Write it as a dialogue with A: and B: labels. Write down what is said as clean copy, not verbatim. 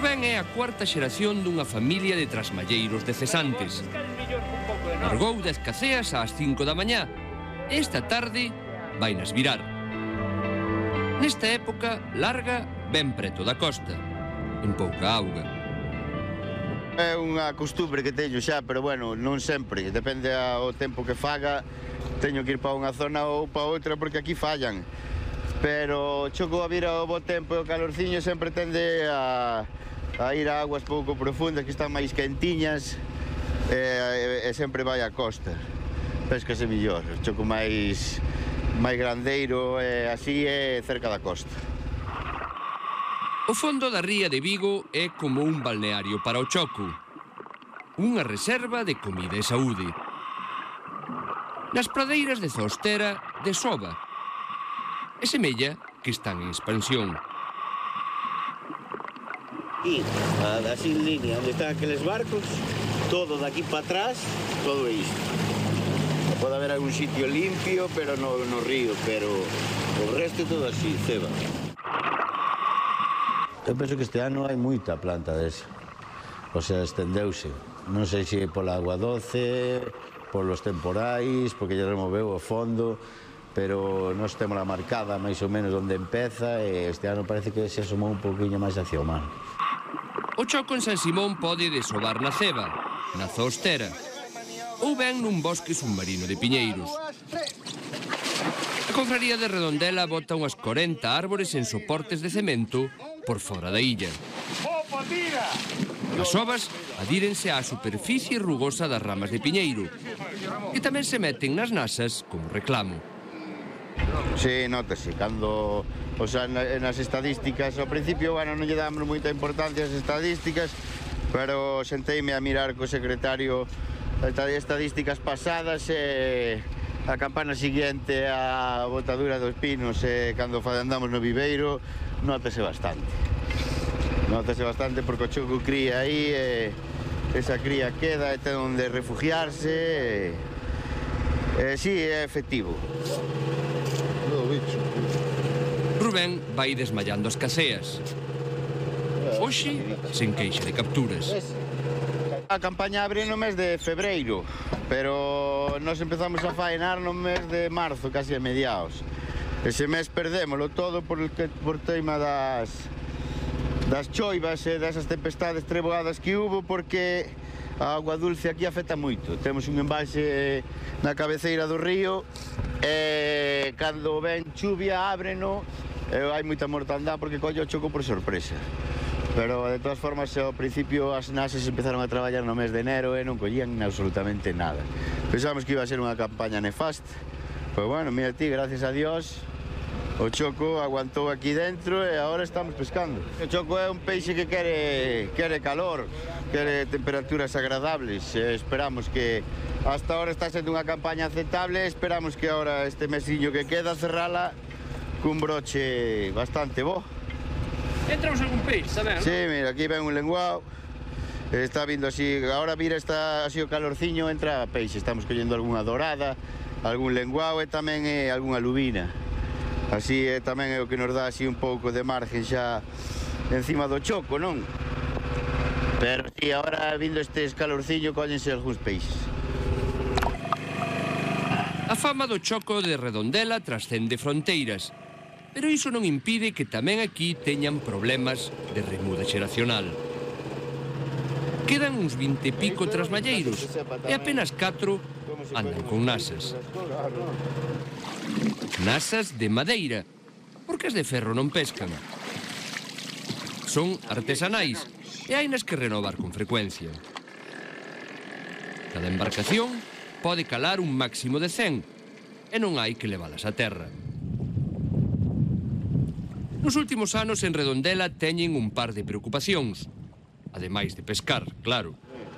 A: Rubén é a cuarta xeración dunha familia de trasmalleiros de cesantes. Largou de Escaceas ás 5 da mañá. Esta tarde vai nas virar. Nesta época larga ben preto da costa, en pouca auga.
B: É unha costumbre que teño xa, pero bueno, non sempre. Depende ao tempo que faga, teño que ir para unha zona ou para outra porque aquí fallan. Pero choco a vir ao bo tempo e o calorciño sempre tende a ir a aguas pouco profundas que están máis quentiñas e sempre vai a costa. Péscase millor, choco máis grandeiro e así é cerca da costa.
A: O fondo da ría de Vigo é como un balneario para o choco. Unha reserva de comida e saúde. Nas pradeiras de Zostera desova e semella que están en expansión.
B: Aquí, así en línea, onde están aqueles barcos, todo daqui para atrás, todo isto. Pode haber algún sitio limpio, pero no río, pero o resto todo así, ceba. Eu penso que este ano hai moita planta desa. O sea, estendeuse. Non sei se pola agua doce, polos temporais, porque lle removeu o fondo, pero nós temos a marcada máis ou menos onde empeza e este ano parece que se asomou un poquinho máis hacia o mar.
A: O choco en San Simón pode desovar na ceba, na Zostera, ou ben nun bosque submarino de piñeiros. A confraría de Redondela bota unhas 40 árbores en soportes de cemento por fora da illa. As ovas adírense á superficie rugosa das ramas de piñeiro, que tamén se meten nas nasas como reclamo.
B: Sí, nótase, cando, o sea, nas estadísticas, ao principio, bueno, non lle damos moita importancia ás estadísticas, pero senteime a mirar co secretario estadísticas pasadas e a campana siguiente a botadura dos pinos e cando andamos no viveiro, nótase bastante. Nótase bastante porque o choco cría aí e esa cría queda e ten onde refugiarse e sí, é efectivo.
A: Rubén vai desmallando as caseas. Hoxe, sen queixa de capturas.
B: A campaña abre no mes de febreiro, pero nos empezamos a faenar no mes de marzo, casi a mediados. Ese mes perdémolo todo por tema das choivas e desas tempestades treboadas que hubo, porque a agua dulce aquí afecta moito. Temos un embalse na cabeceira do río e cando ven chuvia ábreno e hai moita mortandad porque colle o choco por sorpresa. Pero de todas formas ao principio as nases empezaron a traballar no mes de enero e non collían absolutamente nada. Pensamos que iba a ser unha campaña nefasta. Pois bueno, mira ti, gracias a Dios, o choco aguantou aquí dentro e agora estamos pescando. O choco é un peixe que quere calor, quere temperaturas agradables. Esperamos que hasta ahora está sendo unha campaña aceptable, esperamos que ahora este mesillo que queda cerrala cun broche bastante bo.
A: Entramos algún peixe, tamén, non?
B: Sí, mira, aquí ven un lenguao. Está vindo así, agora vira así o calorciño, entra peixe. Estamos collendo algunha dorada, algún lenguao e tamén algunha lubina. Así tamén é o que nos dá así un pouco de margen xa encima do choco, non? Pero si, agora vindo este calorciño, cóllense algúns peixes.
A: A fama do choco de Redondela trascende fronteiras, pero iso non impide que tamén aquí teñan problemas de remuda xeracional. Quedan uns 20 e pico trasmalleiros e apenas 4 andan con nasas. Nasas de madeira, porque as de ferro non pescan. Son artesanais e hainas que renovar con frecuencia. Cada embarcación pode calar un máximo de 100 e non hai que levalas a terra. Nos últimos anos en Redondela teñen un par de preocupacións, ademais de pescar, claro.